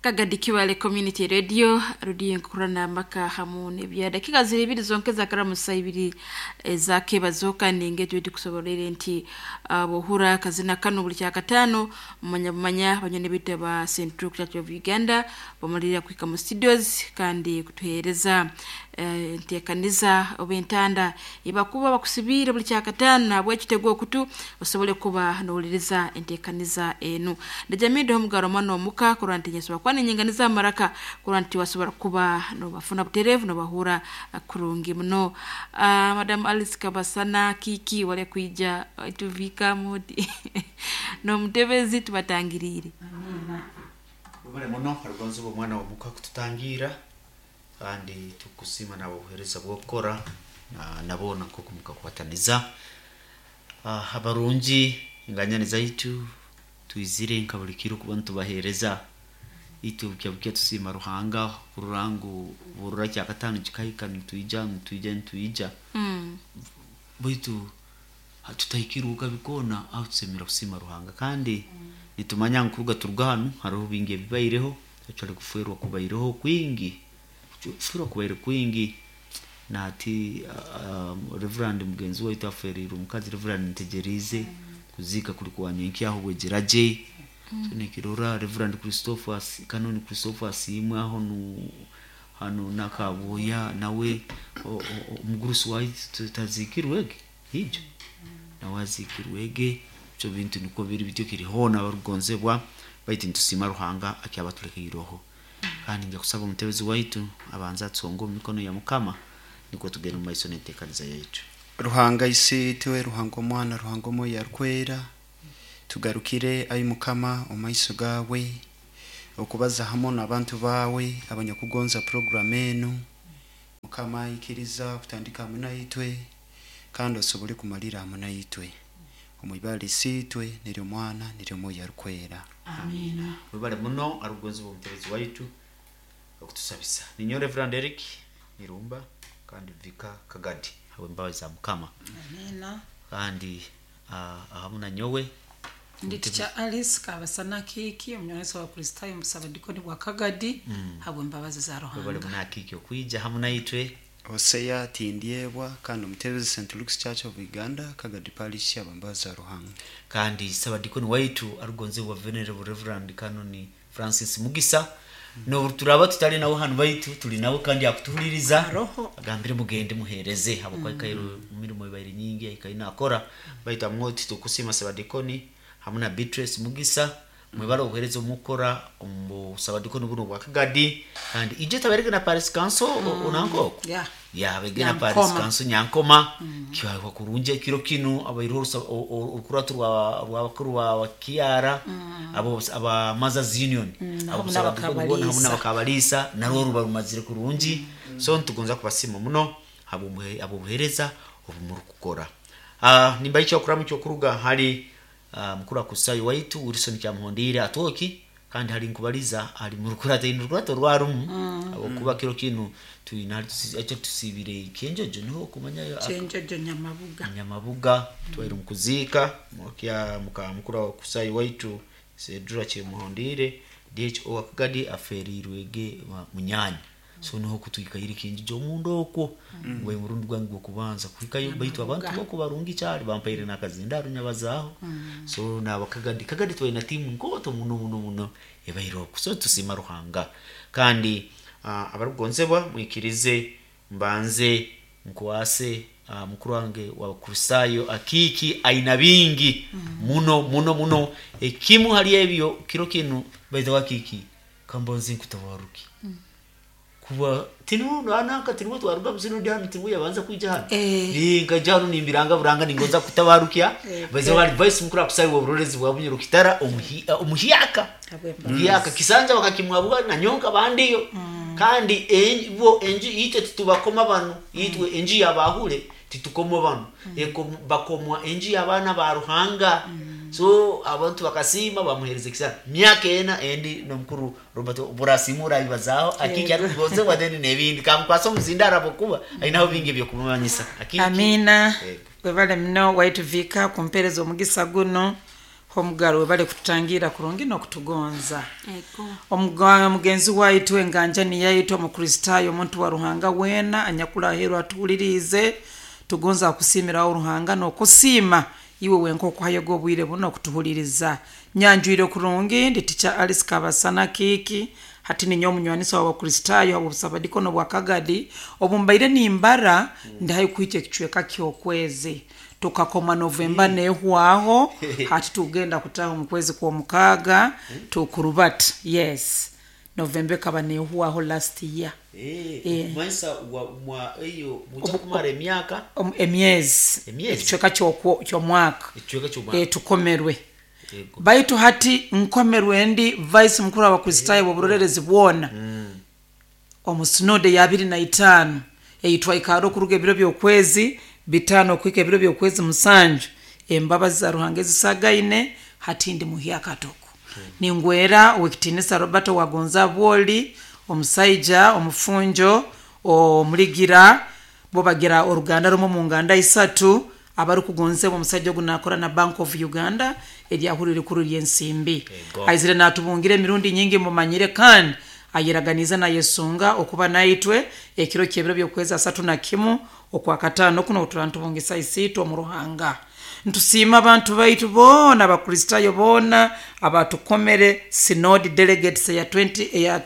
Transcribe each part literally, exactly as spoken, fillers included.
Kagadi Kibaale Community Radio rudiyo nkukurana amaka hamu n'ebya dakika ziri ibiri zonka ezakaramusa ibiri ezakebazo kandi ngetwe tukusoborere nti uh, bohura kazina kano buli kyakatano mumanya bumanya banyone bita ba Central Church of Uganda bamalira kwika mu studios kandi kutuhereza enteekaniza uh, oba entanda ibakuba bakusibire buli kyakatano nabwekitego okutu osobole kuba nowuliriza enteekaniza enu ndejamide omugaro mwana omuka kurwa nti nyesoba kwani nyinganiza amaraka kurwa nti wasobora kuba nobafuna buterevu nobahura kurungi muno. uh, Madam Alice Kabasana kiki wale kuija tuvika mudi nomutebezi tubatangirire. Bubale muno harugonzo omwana omuka kututangira kandi tukusima nabo buhereza bwokora na nabona nk'oku mukakwataniza. uh, abarungi inganyani zaitu tuizire nka buli kiro kuba nitubahereza itu bukya bukya tusima Ruhanga kururangu burura kyakatano kikahika nituija nituija nituija mm. baitu tutaikiruka bikona aho tusemera kusima Ruhanga kandi mm. nitumanya nkuruga turuga hanu hariho bingi ebibaireho actually kuferwa kubaireho kwingi kuferwa kubaire kwingi nati uh, Reverend mugenzi waitu aferire omukazi Reverend Ntegerize mm. kuzika kuli kuwanyenki aho bwegeraje mm. so nikirora Reverend Christopher Canon Christopher asimwe aho nu hano nakaboya nawe omugurusi waitu tazikirwege hijo nawe azikirwege byo bintu niko biri bityo kirihona barugonzebwa baitu ntusima Ruhanga akyabatulekeiroho kandi nja kusaba omutebezi waitu abanza atsonga omu mikono ya Mukama niko tugenda mu maiso n'enteekaniza yaitu. Ruhanga isitwe Ruhanga omwana Ruhanga omwoyo arikwera tugarukire ayi Mukama omaiso gawe okubaza hamwe n'abantu bawe abanyakugonza program enu. Mukama ikiriza kutandika hamwe naitwe kandi osobole kumalira hamwe naitwe omwibali isitwe niryo mwana niryo mwoyo arikwera. Amina. Webale muno arugonzi bw'omutebezi waitu okutusabisa. Ninyo Reverend Eric Nirumba kandi Vika Kagadi hawe mbawe za Mukama. Amina. Kandi uh, ahamu na nyowe ndi ticha Alice Kabasana kiki omunyonesi wa Kristayo musabadikoni bwa Kagadi mm. habwe mbabazi za Ruhanga. Webale muno akiki okuija hamu naitwe. Hosea Tindyebwa kandi omutebezi Saint Luke's Church of Uganda Kagadi Parish abambaza za Ruhanga. Kandi sabadikoni waitu arugonze wa Venerable Reverend Canon Francis Mugisa mm. no turaba tutali nawo hanu baitu tuli nawo kandi akutuhuliriza agambire mugende muhereze habo kwa kairo mirimo ibaire nyingi ikaina akora baitu amwoti tukusima sabadikoni hamwe na Beatrice Mugisa mwebara obuhereza omukora omu sabadikoni buno bwa Kagadi kandi ije taberege na Paris Council mm. onankoko yeah. ya begena Paris Council Nyankoma mm. kiwa kurunje kiro kinu abairo okuratu rwa rwa bakuru wa Kiara mm. abo aba Mothers Union mm. abo sabadikoni bona hamwe n'abakabalisa narwo ruba rumazire kurungi mm. so ntugonza kubasima muno abo abo buhereza obumuru kukora ah uh, nimba icyo kuramu cyo kuruga hari Uh, mukuru akusayo waitu Wilson Kyamuhondire atoki kandi hari nkubaliza ali murukurata inurukurato rwarumu mm. abo kuba kiro kinu tuina acho tusibire kenjojo niho kumanya kenjojo Nyamabuga Nyamabuga mm. twaire mukuzika mukya muka mukuru akusayo waitu Cedra Kyamuhondire D H O Akagadi aferirwege munyanya so niho kutuikaire kinjijo omundu okwo mm. we murundi gwangu kubanza kuhikayo baitu abantu boko barungi cyari bampaire nakazinda runyabazaho mm. so naba Kagadi Kagadi twaina timu nkoto muno muno muno ebairo so tusima Ruhanga kandi uh, abarugonzebwa mwikirize mbanze nkwase uh, mukuru wange wa Kristayo akiki aina bingi mm. muno muno muno ekimu hali ebyo kiro kinu baitu akiki kambonzi nkutabaruki mm. kuba tinu anaka tinu twaruga muzino ndi hano tinu yabanza kuija hano eh. Ninga jano nimbiranga buranga ningonza kutabarukia eh. Bazo bali vice mukuru akusayi oburolezi bwa Bunyoro kitara omuhiaka omuhiaka kisanja bakakimwabuga na nyonka bandiyo mm. kandi en, bo enju ite tutubakoma bano itwe mm. enju yabahule titukoma bano mm. eko bakomwa enju yabana ba Ruhanga mm. So abantu bakasima bamuhereza kisana myaka ena endi nomukuru Robert Burasimura ibazaho akiki arugoze wadeni nebindi kamkwasa omuzinda arabokuba ainaho bingi byo kumanyisa akiki. Amina. Webale mno waitu Vika kumpereza omugisa guno Homugaro webale kututangira kurungi n'okutugonza. Ego. Omuga- omugenzi waitu enganjani yaitu omukristaayo omuntu wa Ruhanga weena anyakuraherwa atuhuliriize, tugonza akusiimiraho Ruhanga n'okusiima iwe wenka okuhayoga obwire buno okutuhuliriza. Nyanjwire kurungi ndi Teacher Alice Kabasana Kiiki, hati ninye omunywanisa w'abakristaayo habw'obusabadikono bwa Kagadi. Obu mbaire nimbara ndahayo kuhikya ekicweka ky'okwezi, tukakoma Novemba nehwaho, hati tugenda kutaha omu kwezi kw'omukaaga tukurubata. Yes, Novemba ekaba nehwaho last year. Eh, Eh. okumanyisa wa- mwa eyo mujja kumara emyaka Omu- emyezi Emyezi? Ekicweka ky'okwo- ky'omwaka. Ekicweka ky'omwaka. Eh, tukomerwe. Yego. Baitu hati nkomerwe ndi vice mukuru w'abakristaayo b'oburorerezi bwona omu sinode ya abiri na itaano eyitwaikara okuruga ebiro by'okwezi bitaano okuhika ebiro by'okwezi musanju. Embabazi za Ruhanga ezisagaine, hati ndi muhya akatoko ningwera owekitiinisa Roberto Wagonza Bwoli, omusaija omufunjo omuligira bo bagira oruganda rumwe mu nganda isatu abarikugonzebwa. Omusajja ogu nakora na Bank of Uganda eryahuriro rikuru ry'ensimbi. Ego. Aizire natubungira emirundi nyingi, mumanyire, kandi ayeraganiza nayesunga okuba naitwe ekiro kyebiro byokwezi asatu na kimu okwakataano kuno oturanatubungisa isiitwe omu Ruhanga. Ntusiima abantu baitu boona, abakristaayo boona abatukomere synod delegates eya twenty eya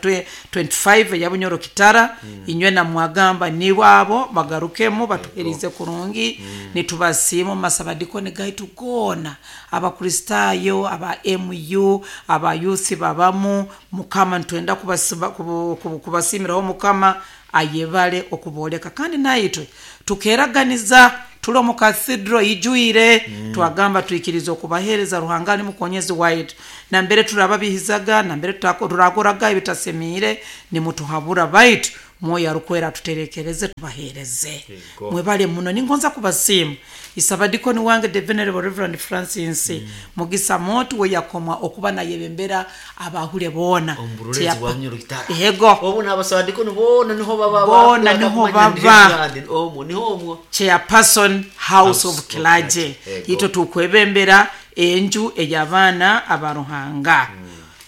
twenty-five eya Bunyoro Kitara. Inywe namwagamba nibo bagarukemu batuherize kurungi. Nitubasiima omu masabadikoni gaitu goona, abakristaayo aba mu aba youth babamu. Mukama nitwenda kubasiba- kubu- kubu- kubasiimiraho Mukama ayebale okuboleka. Kandi naitwe tukeraganiza tuli omu cathedral ijwire, twagamba twikiriza okubahereza Ruhanga ali mukonyezi waitu. Nambere turababihizaga, nambere tutako- turakoraga ebitasemiire, nimutuhabura, baitu Mwoyo arukwera atuterekereze tubahereze. Yego. Mwebale muno. Ningonza kubasiima isabadikoni wange, the Venerable Reverend Francis Mugisa Motu, we yakomwa okuba nayebembera abahule boona. Omuburorezi Kyeyapa- bwa Bunyoro Kitara. Yego. Obu n'abasabadikoni boona niho baba. Boona niho baba. Omwo niho omwo. Chairperson House House of of Clergy. Clergy. Ego. Itwe tukwebembera enju ey'abaana abaruhanga,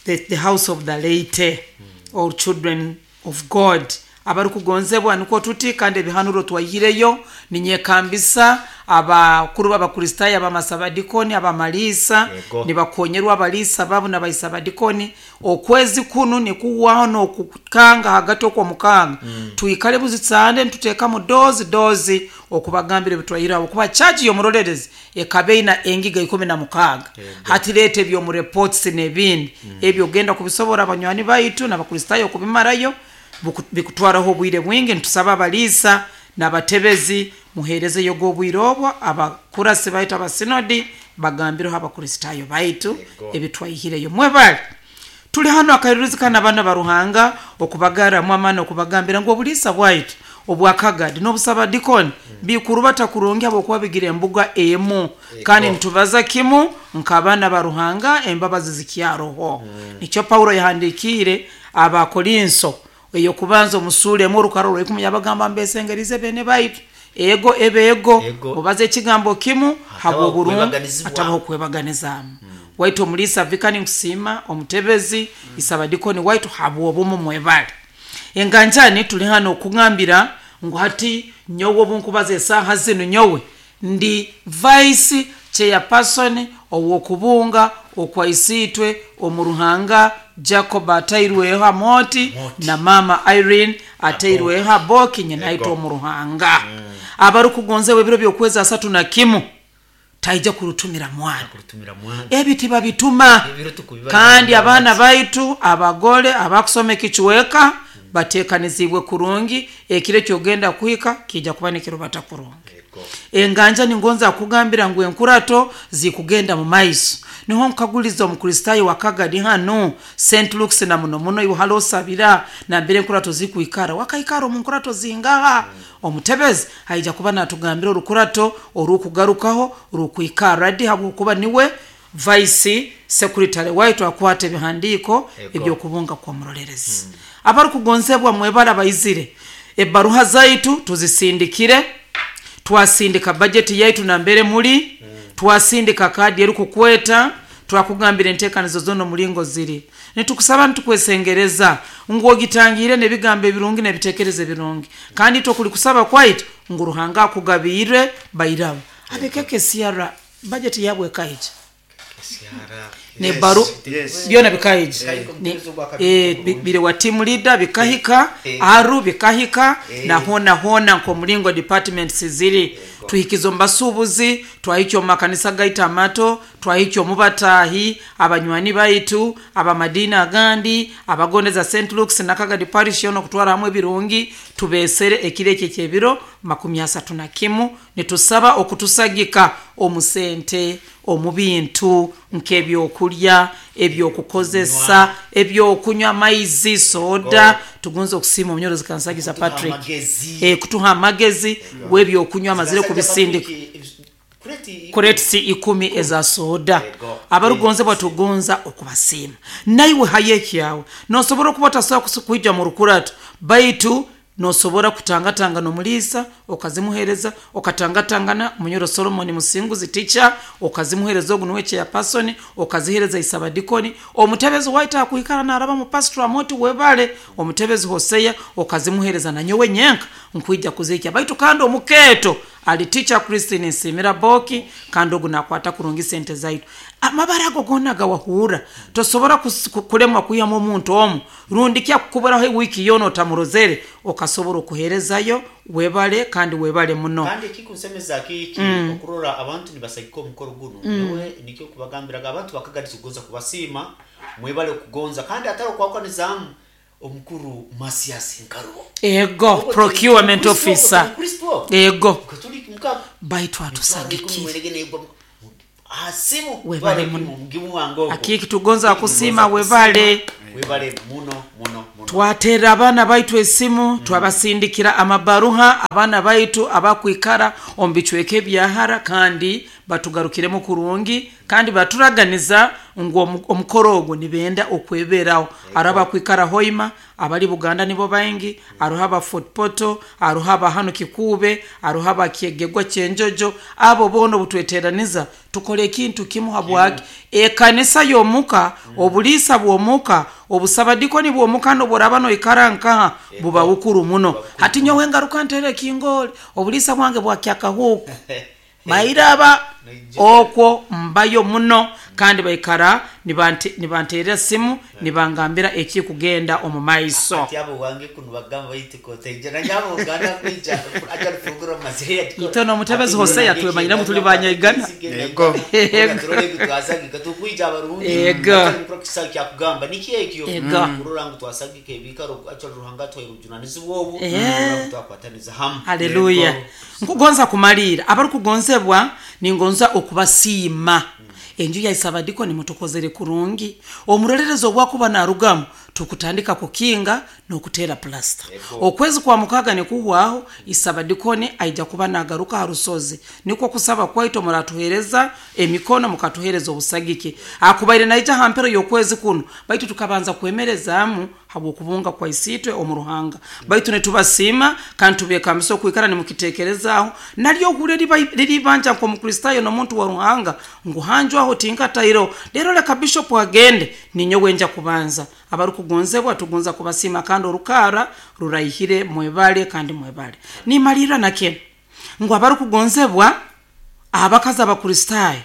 the, the house of the laity or children of God abarikugonzebwa, nikwo tuti. Kandi ebihanuro twayireyo, ninyekambisa abakuru b'abakristaayo, abamasabadikoni, abamaliisa, Yego. nibakonyerwa abaliisa babo nabaisabadikoni. Okwezi kunu nikuwaho nokukanga hagati okwomukanga mm. Tuikale buzitsande nituteekamu dozi dozi okubagambira ebitwayiraho, kuba chaji y'omurolerezi ekaba eina engiga ikumi na mukaaga. Hati leeta ebyomu reports n'ebindi mm. Ebyo ogenda kubisobora abanywani baitu n'abakristaayo okubimarayo buku- bikutwaraho obwire bwingi. Nitusaba abaliisa n'abatebezi muheerezeyo obwire obwo, abakurasi baitu abasinodi bagambireho abakristaayo baitu ebitwaihireyo. Mwebale. Tuli hano akairuzikana abaana ba Ruhanga okubagaramu amaani, okubagambira ngu obuliisa bwaitu obwakagadi n'obusabadikoni bikurubata kurungi habwokuba bigira embuga emu, kandi nitubaza kimu nk'abaana ba Ruhanga. Embabazi zikyaroho. Nikyo Paulo yahandikiire Abakorinso eyokubanza omusuulemu orukaro rw'ikumi, yabagamba, mbesengerize bene baitu, ego ebe ego, Ego. mubaze ekigambo kimu habw'oburungi, kwebaganizibwa. Hatabaho kwebaganizaamu. Waitu omuliisa vikani nkusiima, omutebezi isabadikoni waitu habw'obumu, mwebale. Enganjani tuli hano okugambira ngu hati nyowe obunkubaza esaaha zinu, nyowe ndi vice chairperson ow'okubunga okwaisiitwe omu Ruhanga Jacob atairweho Amoti na mama Irene atairweho Aboki nyinaitwe omu Ruhanga. Abarikugonzebwa, ebiro by'okwezi asatu na kimu taija kurutumira mwana. Kurutumira mwana. Ebi tibabituma. Ebiro tukubiba. Kandi abaana baitu abagole abakusoma ekichweka batekanizibwe kurungi. Ekiro kyogenda kuhika kijja kuba nikirubata kurungi. Yego. Enganja ningonza kugambira ngu enkurato zikugenda mu maiso. Niho nkaguliza omukristaayo wakagadi hano Saint Lukes na muno muno iwe hali osabira nambere enkurato zikuikara, wakaikara omu nkurato zingaha? Omutebezi aija kuba natugambira orukurato orukugarukaho rukuikara di, habwokuba niwe vice secretary waitu akwata ebihandiiko Ego. ebyokubunga kwa murolerezi. Abarikugonzebwa, mwebala baizire, ebaruha zaitu tuzisindikire. Twasindika bajeti yaitu nambere muli, twasindika kadi erikukweta. Twakugambira enteekanizo zona omulingo ziri. Nitukusaba nitukwesengereza ngu ogitangire n'ebigambo ebirungi n'ebitekerezo ebirungi, kandi itwe kuli kusaba kwaitu ngu Ruhanga akugabiire bairaba abekeke siara budget yabwe ekaija ne baru Yes. byona bikaija Bikahika Ni- omutezo gwa kabiri eh, bi- biri wa team leader bikahika aru bikahika na hona hona nkomulingo departments ziri. Tuhikiza omu basuubuzi, twahikya omu makanisa gaitu amato, twahikya omu bataahi, abanywani baitu, abamadini agandi, abagondeza Saint Luke's Nakagadi Parish yoona okutwara hamwe ebirungi tubeesere ekiro ekyo ekyebiro makumi asatu na kimu. Nitusaba okutusagika omu sente, omu bintu nk'ebyokulya, ebyokukozesa, ebyokunywa, amaizi, soda. Tugonza okusiima omunyorozi Kansagiza Kutuha Patrick. amagezi. Eh, kutuha amagezi w'ebyokunywa amazire kubisindika Kureti kuretisi ikumi eza soda. Ego. Abarugonzebwa tugonza okubasiima. Naiwe hayo ekyawe, nosobora okuba otasobola kusu- kwija mu rukurato, baitu nosobora kutangatangana omuliisa okazimuhereza, okatangatangana munyoro Solomon Musinguzi ticha okazimuhereza, ogu niwe chairperson, okazihereza isabadikoni omutebezi waita akuikara naraba mu pastor amoti webale omutebezi Hoseya okazimuhereza, nanyowe nyenka nkwija kuzikya. Baitu kandi omukeeto ali ticha Christine Nsimira Boki, kandi ogu nakwata kurungi sente zaitu. Amabara ago gona gawahura, tosobora kus- ku- kulemwa kwihamu omuntu omu rundi kyakukuburaho ewiki yoona otamurozere, okasobora okuherezayo. Webale kandi webale muno. Kandi ekikunsemeza kiki okurora abantu nibasagika omukoro guno, nyowe nikyo kubagambiraga abantu bakagadiza kugonza kubasiima, mwebale kugonza. Kandi atari okwakanizamu omukuru Masias Nkarubo, ego procurement officer. Kristo Ego tuli muka baitu atusagikire. Asimu Webale muno. mugimu wange ogwo. Akiki tugonza kusiima, webale. Webale muno muno muno. Twatera abaana baitu esimu, twabasindikira amabaruha abaana baitu abakwikara omu bicweka ebyahara, kandi batugarukiremu kurungi, kandi baturaganiza ngu omu- omukoro ogwo nibenda okweberaho. Hariho abakwikara Hoima, abali Buganda nibo baingi, hariho aba Fort Portal, hariho aba hano Kikuube, hariho abakyegegwa Kyenjojo. Abo boona obutweteraniza tukora ekintu kimu habwaki ekanisa y'omuka, obuliisa bw'omuka, obusabadikoni bw'omuka noburaba noikara nkaha buba bukuru muno. Hati nyowe ngaruka ntere ekingoli, obuliisa bwange bwakyakahuku bairaba okwo mbayo muno, kandi baikara nibante- nibanteerera simu nibangambira ekikugenda omu maiso. Ati abo wange kuno bagamba baiti kotaija nanyabo uganda kwija aja rufunguro mazeya. Itwe n'omutebezi Hosea twemanyire ngu tuli banyaigana. Yego. Twasagika tukwija abarungi. Yego. Kisa kyakugamba niki ekyo Yego. kurora ngu twasagika ebikaro acha Ruhanga twayirujunanizibwa obu Eh. kurora ngu twakwataniza hamwe. Haleluya. Nkugonza kumalira, abarikugonzebwa ningonza okubasiima. Enju ya isabadiko nimutukozere kurungi, omurolerezo obwakuba narugamu tukutandika kukinga n'okutera plasta. Okwezi kwa mukaga nikuhwaho, isabadikoni aija kuba nagaruka ha rusozi. Nikwo kusaba kwaitu muratuhereza emikono, mukatuhereza obusagiki. Akubaire naija hampero y'okwezi kuno, baitu tukabanza kwemerezamu habwokubunga kwa isitwe omu Ruhanga. Baitu nitubasiima kandi tubekambisa okwikara nimukitekerezaho naryo ohure liribanja nk'omukristayo n'omuntu wa Ruhanga ngu hanjwaho tinkatairo lero leka bishop agende ninyowe nja kubanza. Abarikugonzebwa tugonza kubasiima kandi orukara ruraihire, mwebale kandi mwebale. Nimalira nakeno ngu abarikugonzebwa, abakazi abakristayo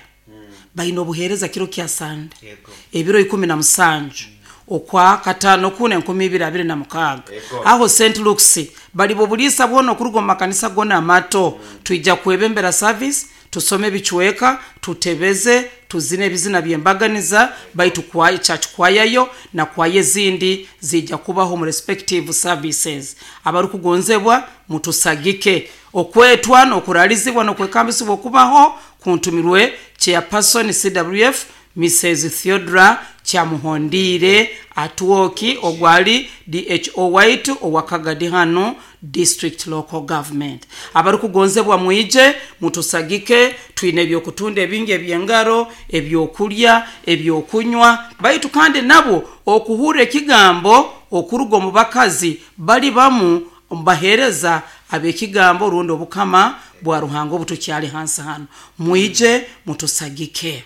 baine obuhereza kiro kya Sande Yego. ebiro ikumi na musanju okwa katano kune enkumi ibiri abiri na mukaaga Yego. aho Saint Luke's bali bobuliisa bwona okuruga omu makanisa gona amato. Twija kwebembera service, tusome ebicweka, tutebeze, tuzine ebizina byembaganiza, baitu kwa church kwayayo na kwaya ezindi zijja kubaho mu respective services. Abarikugonzebwa mutusagike okwetwa n'okuralizibwa n'okwekambisibwa okubaho kuntumirwe chairperson C W F Missus Theodora Kyamuhondire Atwoki, ogwali D H O waitu owakagadi hano district local government. Abarikugonzebwa mwije mutusagike, twine ebyokutunda ebingi, ebyengaro, ebyokulya, ebyokunywa, baitu kandi nabo okuhura ekigambo okuruga omu bakazi bali bamu mubahereza abekigambo rundi obukama bwa Ruhanga obutukyali hansi hano. Mwije mutusagike.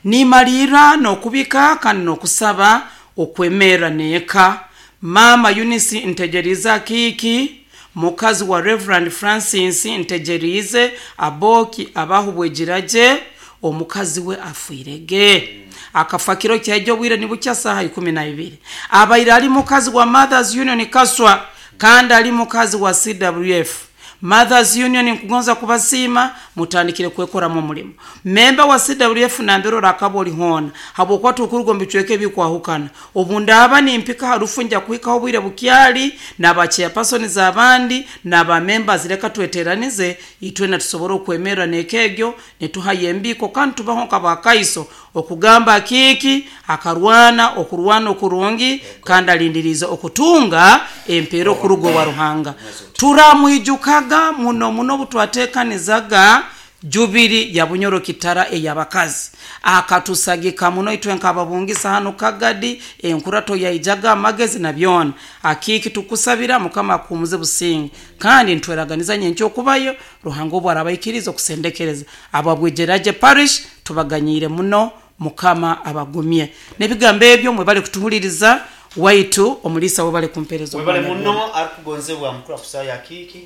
Nimalira n'okubika kandi n'okusaba okwemera neeka. Mama Eunice Ntegeriza Kiki, mukazi wa Reverend Francis Ntegerize Aboki abahubwegiraje, omukazi we afwirege akafa kiro kyajjo bwire nibukya saha ikumi na ibiri. Abaire ali mukazi wa Mothers Union Kaswa kandi ali mukazi wa C W F. Mothers Union nkugonza kubasiima mutandikire kwekoramu omulimu. Memba wa C W F nambero rakabo lihona habwokuba tukurugo mbicweke ebikwahukana. Obundaba nimpika harufu nja kuhikaho obwire bukyali n'abachairperson z'abandi n'aba members, reka tweteranize itwe tusobora okwemera nekegyo netuhaye embiko kandi tubaho nk'abakaiso okugamba kiki akarwana okurwana okurungi kandi alindiriza okutunga empero okurugo wa Ruhanga. Turamwijukaga muno muno butwatekanizaga jubiri ya Bunyoro Kitara ey'abakazi, akatusagika muno itwe nk'ababungisa hano Kagadi, enkurato yaijaga amagezi na byona. Akiki tukusabira Mukama akumuze businge kandi ntweraganiza nyenkyo okubayo Ruhanga obwo arabaikiriza okusendekereza ababwegeraje parish tubaganyire muno, Mukama abagumye. N'ebigambo ebyo mwe bali kutuhuliriza waitu omulisa we bali kumpereza webale muno arikugonzebwa mukura kusaya kiki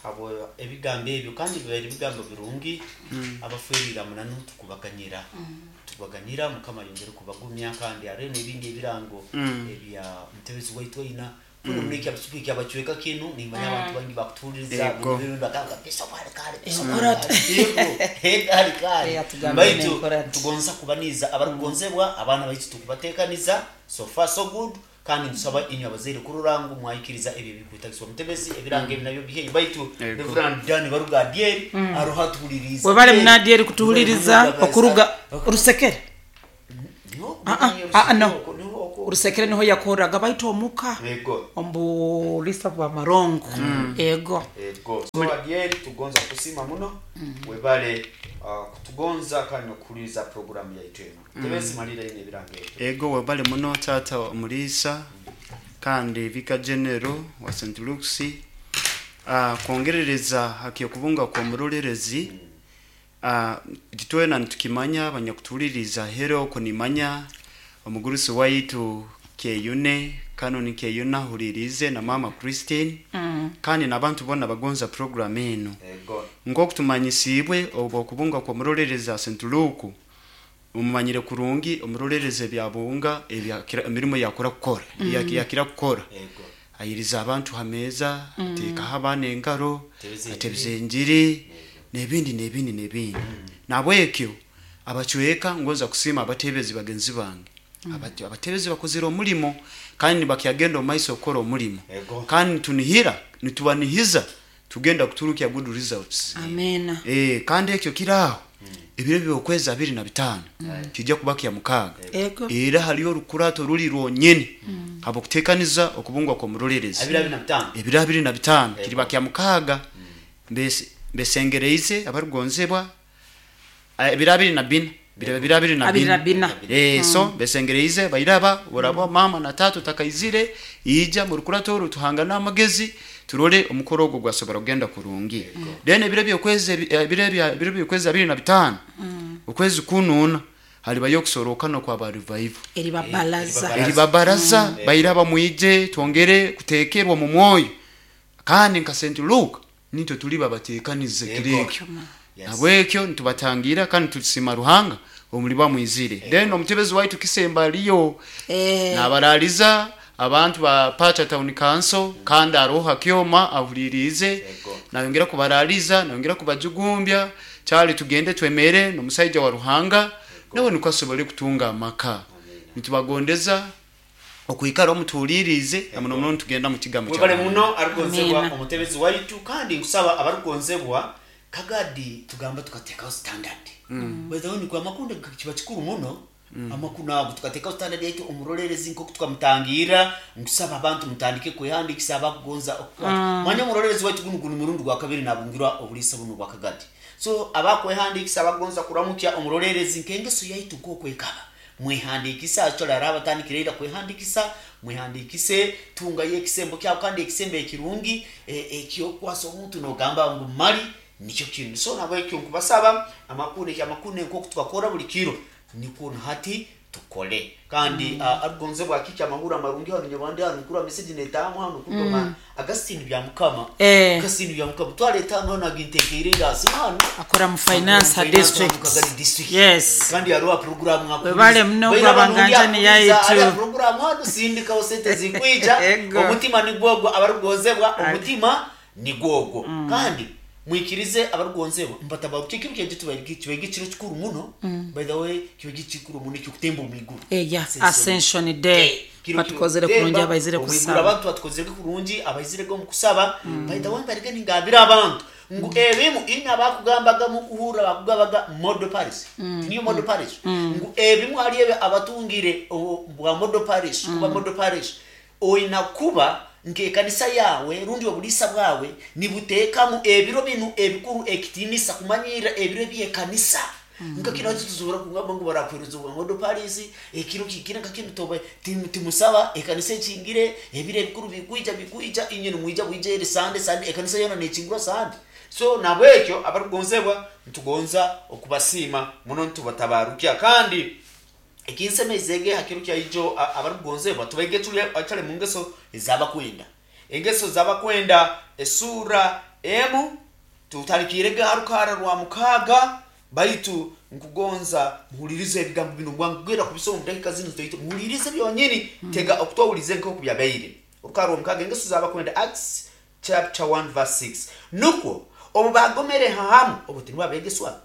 abo ebigambo ebyo kandi bibaire ebigambo birungi mm. Abaferira munanu tukubaganyira mm. Tukubaganyira Mukama yongere kubagumya kandi arene ebindi ebirango mm. Ebya mutebezi waitu ina kuno mm. Abasupiki abacweka kinu nimanya abantu bangi bakutuliriza birundu akanga pesa wale kale pesa kale kale baitu tugonza kubaniza abarugonzebwa abana baitu tukubatekaniza so far so good. Kandi nsaba inyo abazaire kururangu mwayikiriza ebyo bikutagiswa mutebezi ebirango ebi nabyo bihe baitu Reverend Dan Baruga Adieri aroha tuhuliriza webale munadieri kutuhuliriza okuruga Rusekere. Ah ah no Rusekere niho yakoraga baitu omuka ombu lisa bwa marongo ego ego. So Adieri tugonza kusima muno webale uh, kutugonza kandi nokuliza program yaitu eno tebezi malira ine ebirango ego. Webale muno tata omulisa kandi Vicar General wa Saint Luke's uh, kwongerereza haki okubunga kwa murolerezi uh, gitwena nitukimanya abanyakutuliriza hero kunimanya omugurusi waitu Keyune Kanoni Keyuna hulirize na mama Christine mm. Kandi nabantu bona bagonza program eno nkokutumanyisibwe obwo okubunga kwa murolereza Saint Luke umumanyire kurungi omurolereze byabunga ebya emirimo yakora kukora mm. Yakira kukora ayiriza abantu hameza mm. Teka abana engaro atebeze enjiri nebindi nebindi nebindi mm. Nabwekyo abacweka ngoza kusima abatebezi bagenzi bange mm. Abatebezi bakozera omulimo kandi bakyagenda omaiso okora omulimo kandi tunihira nitubanihiza tugenda kuturukia good results. Amen. Eh kandi ekyo kiraho ebiro byokweza abiri na bitano kijja kubakia mukaga era haliyo orukurato ruli rwonyene abo kutekaniza okubungwa kwa murolerezi ebiro abiri na bitano kiribakia mukaga mbese mbesengereize abarugonzebwa ebiro abiri na bina biro abiri na bina eh so besengereize bairaba borabo mama na tatu takaizire ija mu rukurato rutuhanga n'amagezi turole omukoro ogwo gwasobora kugenda kurungi. Then ebiro byokwezi ebiro ebiro byokwezi abiri na bitano okwezi kununa halibayo kusorokano kwa ba revival eribabalaza eribabaraza bairaba muije twongere kutekerwa mu mwoyo kandi nka Saint Luke nitwe tuliba batekanize kirekyo. Nabwekyo nitubatangira kandi tusima Ruhanga omuliba mwizire. Then omutebezi waitu kisemba liyo eh. Nabaraliza abantu ba Pacha Town Council kandi aroha kyoma ahulirize nayongera kubaraliza nayongera kubajugumbya cyali tugende twemere no musajja wa Ruhanga nawe nikasobole kutunga amaka nitubagondeza okuikara omutulirize amuno muno tugenda mu kigambo cyawe. Webale muno arugonzebwa omutebezi waitu kandi nkusaba abarugonzebwa Kagadi tugamba tukateka standard mm. Wetho ni kwa makunda kiba kikuru muno mm. Amakuna ago tukateka standard yaitu omurolerezi nko tukamutangira nkusaba abantu mutandike kwehandikisa abakugonza mm. Mwanya omurolerezi waitu gunu gunu murundi gwa kabiri nabungirwa obulisa buno bwa Kagadi so abakwehandikisa abagonza kuramukya omurolerezi nkengeso yaitu nko kwekaba mwehandikisa achola rabatandikira kwehandikisa mwehandikise tunga yekisembo kya kandi ekisembo ekirungi ekyo kwasa omuntu nogamba ngu mali nicyo kintu. So nabwekyo nkubasaba amakune amakune nko tukakora buli kiro Nikwo hati tukole kandi mm. uh, arugonze bwakiki amahura amarungi hano nyabandi hano nkura message netamu hano kugoma mm. Augustine bya mukama Eh. Augustine bya mukama twaleta hano nagintekeire ngasi hano Akora mu finance Akora mu district. Kagari district. Yes. Kandi hariho program nka Webale muno gwabanganja ni yaitu. Program hano sindika osente zikwija. Ego. Omutima ni gwogwo abarugonzebwa omutima ni gwogwo kandi mwikirize abarugonzebwa mbatabaruke kiro kyeje tubairiki kibaige kiro kikuru muno. By the way, kibaige kikuru muno kikutemba omwiguru. Eh, yeah, Ascension Ascension Day. Kiro Batukozere kikutemba kurungi abaizire omwiguru, kusaba. Abantu batukozere kurungi abaizire go mukusaba. By the way, mbarige ningabira abantu ngu ebimu ina bakugambaga mukuhura bakugabaga model parish niyo model parish ngu ebimu ali ebe abatungire o- bwa model parish kuba model parish oina kuba nkekanisa yawe rundi obulisa bwawe nibutekamu ebiro binu ebikuru ekitinisa kumanyira ebiro byekanisa nka kino tusobora kugamba ngu barakuhereza obwa model parish ekiro kikira nka kino toba tim- timusaba ekanisa ekingire ebiro ebikuru bikwija bikwija inye nimwija bwija eri sande sande ekanisa yona nekingura sande. So nabwekyo abarugonzebwa nitugonza okubasiima muno ntubatabarukya kandi ekinsemezege hakiro kyaijo a- abarugonzebwa tubaige tuli achale mu ngeso ezabakwenda engeso zabakwenda esura emu tutalikirege harukara rwa mukaga baitu nkugonza muhulirize ebigambo bino bwangera kubisoma mu dakika zino zitoito muhulirize byonyini tega okutwawulize nk'oku byabaire orukara rwa mukaga engeso zabakwenda Acts chapter one verse six nukwo obu bagomere hahamu obu tinibo abegeswa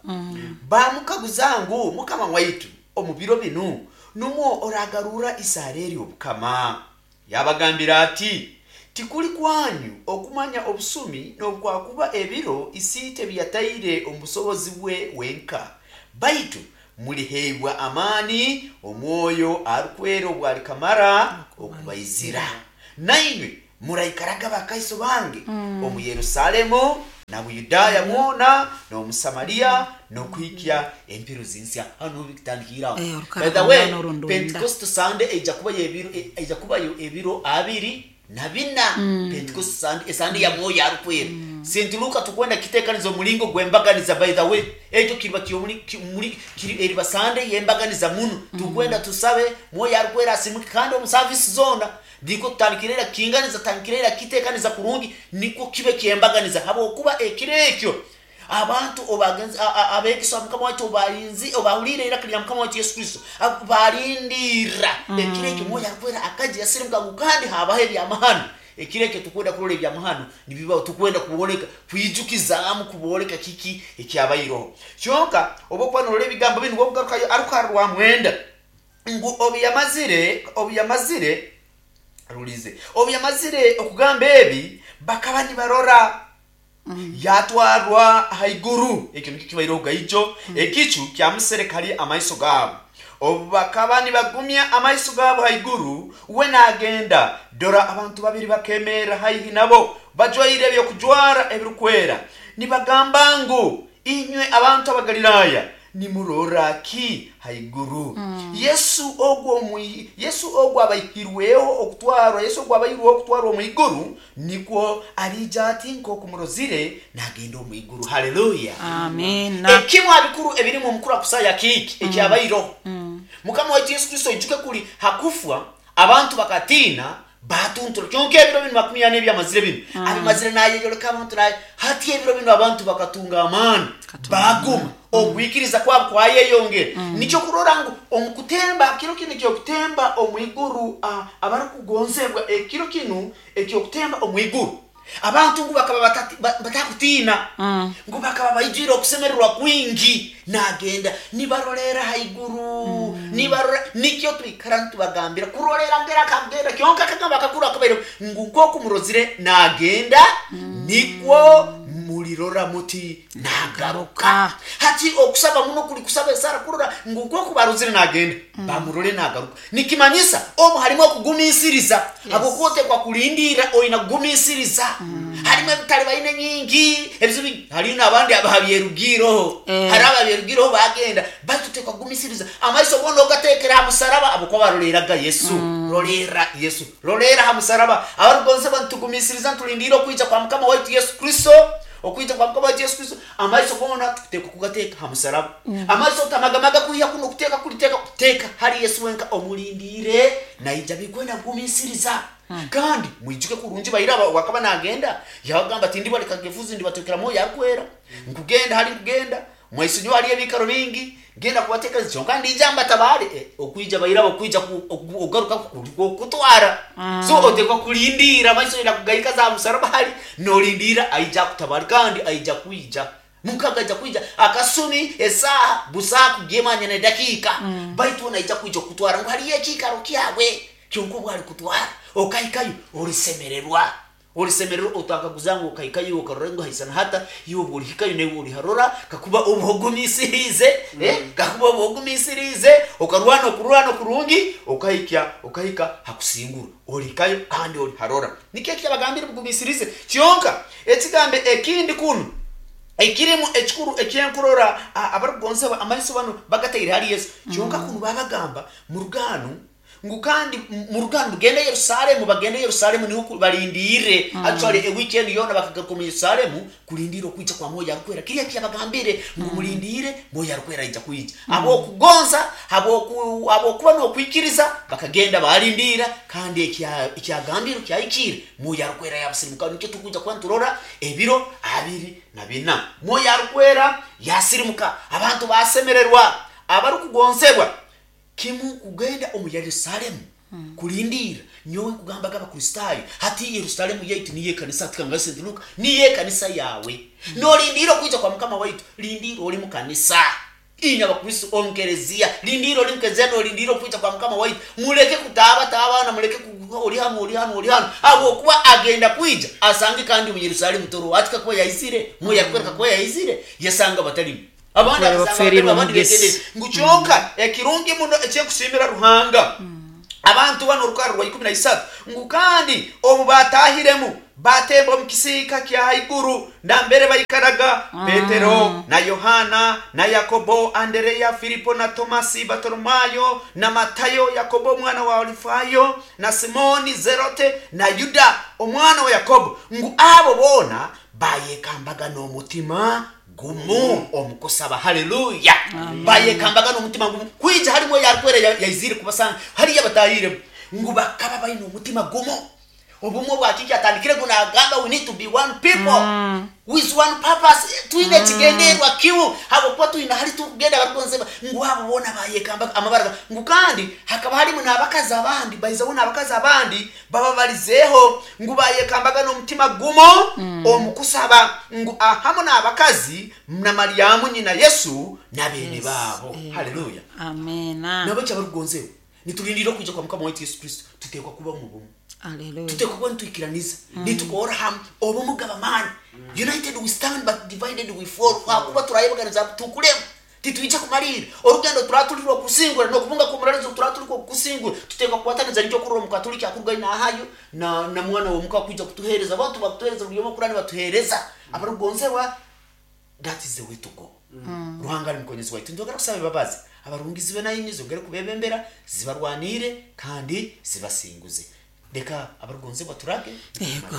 bamukaguza ngu mukama waitu omu biro binu numwo oragarura Isareli obukama. Yabagambira ati tikuli kwanyu okumanya obusumi n'obwakuba ebiro isiite byataire omu busobozi bwe wenka baitu muliheebwa amaani omwoyo arukwera obwalikamara okubaizira nainywe muraikaraga bakaiso bange omu Yerusalemu na Buyudaya mwona n'omu Samariya n'okuhikya empiru zinsya. Hano bitandikiraho. Eh, orukara By the way, rw'omwana orundi wenda. Pentecost Sunday eija kuba yebiro eija kubayo ebiro abiri na bina. Pentecost Sunday esande ya mwoyo arukwera. Saint Luka tukwenda kitekanizo mulingo gwembaganiza. By the way, ekyo kiriba kyomuli muri kiri eriba Sunday yembaganiza muno tukwenda tusabe mwoyo arukwera asimuke kandi omu service zona ndiko tutandikirera kinganiza tandikirera kitekaniza kurungi niko kibe kyembaganiza habwokuba ekiro ekyo abantu obagenzi abegeswa mukama waitu obalinzi obahulire iraka lya mukama waitu Yesu Kristo ab- balindira ekiro ekyo mwoyo arukwera akaji yasirimuka ngu kandi habaho ebyamahano ekiro ekyo tukwenda kurora ebyamahano nibibaho tukwenda kuboneka kwijukizaamu kuboleka kiki ekyabairoho kyonka oba okuba norora ebigambo binu wokugarukayo arukara rwa mwenda ngu obuyamazire obuyamazire rulize obuyamazire okugamba ebi bakaba nibarora yatwarwa haiguru ekyo nikyo kibaireho gaijo ekicu kyamusereka amaiso gaabo obu bakaba nibagumya amaiso gaabo haiguru we nagenda dora abantu babiri bakemerera haihi nabo bajwaire ebyokujwara ebirukwera nibagamba ngu inywe abantu abagalilaya nimurora ki haiguru. Yesu ogwo mwi Yesu ogwo abaihirweho okutwarwa Yesu ogwo abaihirweho okutwarwa omwiguru nikwo alija ati nk'okumurozire nagenda omwiguru. Haleluya. Amina. Ekimu abikuru ebirimu omukuru akusaya kiki ekyabairo mukama waitu Yesu Kristo ijuke kuli hakufwa abantu bakatina batuntura kyonka ebiro bino makumi ane ebyamazire bino abimazire nayeyoleka abantu naye hati ebiro bino abantu bakatunga amaani baguma okwikiriza kwabo kwayeyongera nikyo kurora ngu omukutemba kiro kino ekyokutemba omwiguru abarikugonzebwa ekiro kino ekyokutemba omwiguru abantu ngu bakaba batati- ba- batakutina ngu bakaba baijwire okusemererwa kwingi nagenda nibarolera haiguru nibarora nikyo twikara ntubagambira kurolera ngera akagenda kyonka akagamba akakuru akabaire ngu nk'okumurozire nagenda nikwo mulirora muti nagaruka. Hati okusaba muno kuli kusaba esara kurora ngu nk'okubarozire nagenda bamurore nagaruka nikimanyisa omu harimu okugumiisiriza habwokuba kulindira oina kugumiisiriza harimu ebitale baine nyingi ebizibu hariyo n'abandi ababyerugiireho Eh. hari ababyerugiireho bagenda baitu tekwa kugumiisiriza amaiso goona ogateekera ha musaraba habwokuba baroleraga Yesu rolera Yesu rolera ha musaraba abarugonzebwa nitugumiisiriza ntulindire okwija kwa mukama waitu Yesu Kristo Okwija kwa Mukama Yesu Kristo amaiso gona tukuteeka kugateeka ha musaraba. Amaiso tamagamaga kuiha kuno kuteeka kuliteeka kuteeka hali Yesu wenka omulindire naija bikwenda kugumisiriza. Kandi mwijuke kurungi bayira wakaba nagenda yagamba ati ndi balekagefuzi ndi batekera moyo yakwera nkugenda hali nkugenda mwaisunyu hali ebikaro bingi genda kubateka zonka ndijamba tabale eh, okuija bayira okuija ogaruka kutwara. So otekwa kulindira maiso ila kugaika za musaraba hali nolindira aija kutabali kandi aija kuija mukaga aija kuija akasumi esaha busa kugemanya na dakika. Mm. Baitu naija kuija kutwara ngo hali ekikaro kyawe kyonko bwali kutwara okaikayo olisemererwa olisemererwa otakaguzango okaikayo okarorengo haisana hata iwe bulihikayo newe uliharora kakuba obugumisirize. Mm. Eh kakuba obugumisirize okarwana okurwana kurungi okahikya okahika hakusingura olikayo kandi oliharora nikyo kyabagambira bugumisirize kyonka ekigambe ekindi kunu ekirimu ekikuru ekyenkurora abarugonze amaiso bano bagateire hali Yesu. Kyonka kunu babagamba mu rugano ngu kandi mu rugano mugende Yerusalemu bagende Yerusalemu niho balindire. Mm. Actually a weekend yona bakagaruka mu Yerusalemu kulindira okwica kwa moyo yakwera kiriya kyabagambire ngu mulindire moyo yakwera ija kuija. Mm. Abo kugonza abo ku abo kuba no kwikiriza bakagenda balindira kandi ekyagambiro kyayikire moyo yakwera yabasirimuka nikyo tukuja kwa nturora ebiro abiri na bina moyo yakwera yasirimuka abantu basemererwa abarukugonzebwa kimu kugenda omu Yerusalemu. Hmm. Kulindira nyowe kugamba gaba Kristayo hati Yerusalemu yaitu niye kanisa tukanga Saint Luke niye kanisa yawe. Hmm. Nolindira kuija kwa Mukama waitu lindira oli mu kanisa inya bakristo onkerezia lindira oli mukezia nolindira kuija kwa Mukama waitu muleke kutaba tabana muleke oli hamu oli hamu oli hamu abo kuba agenda kuija asange kandi mu Yerusalemu toro atika kwa yaisire mu yakwereka kwa yaisire yasanga batalimu abandi abandi betende nguchonka ekirungi muno ekyekusimira Ruhanga. Mm. Abantu bano orukaro rwa ikumi na isatu ngu kandi obu batahiremu batemba mu kisika kya haiguru ndambere bayikaraga. Mm. Petero na Yohana na Yakobo Andereya Filipo na Tomasi Bartolomayo na Matayo Yakobo mwana wa Alifayo na Simoni Zerote na Yuda omwana wa Yakobo ngu abo bona bayekambaga n'omutima gumu omukusaba. Haleluya. Bayekambaga n'omutima gumu kwija harimo yakwere yaizire kubasanga hariya batayire ngu bakaba bayina omutima gumu obumu bwakiki atandikire gunagamba we need to be one people. Mm. With one purpose tuine mm. Kigenderwa kimu habo kwa tuina hali tugenda barugonze ngu abo bona bayekamba amabaraga ngu kandi hakaba harimo nabakazi abandi baiza bona abakazi abandi baba balizeho ngu bayekambaga n'omutima gumo. Mm. Omukusaba ngu ahamo nabakazi na Mariamu nyina Yesu na bene babo. Eh. Haleluya. Amen. Nabo cyabarugonze nitulindira kuja kwa Mukama wetu Yesu Kristo tutekwa kuba mu bumu. Hallelujah. Tutekwa kuba ntuikiraniza. Mm. Nitukora ham obumuga bamani. Mm. United we stand but divided we fall. Kuba turayebaganiza tukulemu tituija kumalira orugendo turatulirwa kusingura no kubunga kumurarizo turatulirwa kusingura tutekwa kubataniza nicyo kurora mu Katolika akurwa na hayo na na mwana wo muka kuja kutuhereza abantu bakutuhereza buryo kurani batuhereza abarugonzewa that is the way to go. Mm. Ruhanga ari mukonyezi waitu ndogera kusaba babazi abarungizi be nayinyizo ngere kubebembera zibarwanire kandi zibasinguze reka abarugonzebwa turage. Yego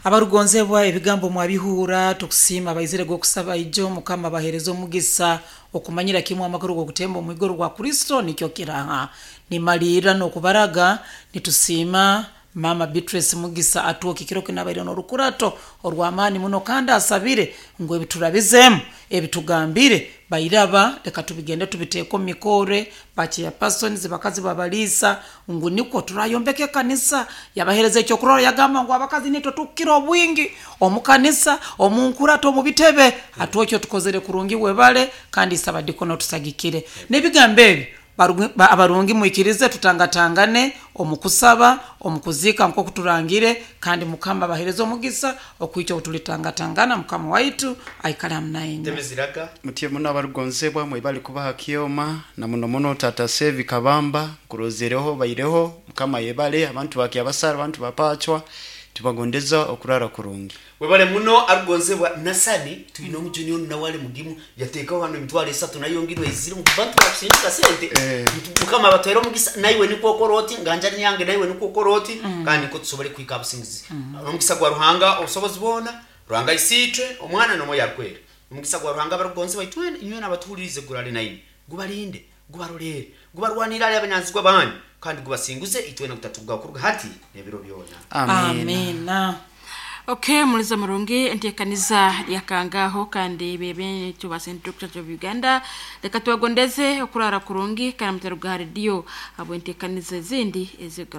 abarugonzebwa ebigambo mwabihura tukusima baizire go kusaba ijo Mukama baherezo mugisa okumanyira kimwe amakuru go kutemba omwigoro gwa Kristo nikyo kiraha nimalira no kubaraga nitusima Mama Beatrice Mugisa atuoke kiro kinabaire n'orukurato orwamani muno kandi asabire ngo ebiturabizemu ebitugambire bairaba leka tubigende tubiteeko mikore bachiya persons bakazi babalisa ngu niko turayombeke kanisa yabahereza ekyo kurora yagamba ngu abakazi nito tukira obwingi omukanisa omunkurato omubitebe atuokyo tukozere kurungi webale kandi sabadikono tusagikire nebigambo ebi abarungi muikirize tutangatangane omukusaba omukuzika nko kuturangire kandi Mukama bahereza omugisa okwicha otulitangatangana Mukama waitu aikale amnainye temeziraka mutiye muno abarugonzebwa mwebali kubaha kioma na muno muno tata Sevi Kabamba kurozereho baireho Mukama yebale abantu bakyabasara abantu bapachwa tubagondeza okurara kurungi webale muno arugonzebwa nasani tuino mujunior na wale mugimu yatekaho hano emitwalo esatu nayo ngirwe iziri mu bantu bakusindika sente eh. Mukama batwera omugisa naiwe niko koroti nganja nyange naiwe niko koroti mm. Kandi niko tusobole kwika abusingizi mm. Omugisa gwa Ruhanga obusobozi bona Ruhanga Isiitwe, Omwana n'Omwoyo Arukwera, omugisa gwa Ruhanga abarukugonzebwa itwena, inywena abatuhulirize gurale naimwe, gubalinde, gubarolere, gubarwanire ali abanyanzigwa banyu, kandi gubasinguze itwena gutaturugaho kuruga hati n'ebiro byona. Amina. Okay, muliza murungi enteekaniza lyakangaho kandi bebe tuba Central Church of Uganda. Leka tubagondeze okurara kurungi kandi mutaruga ha rediyo habw'enteekaniza ezindi ezigaruka.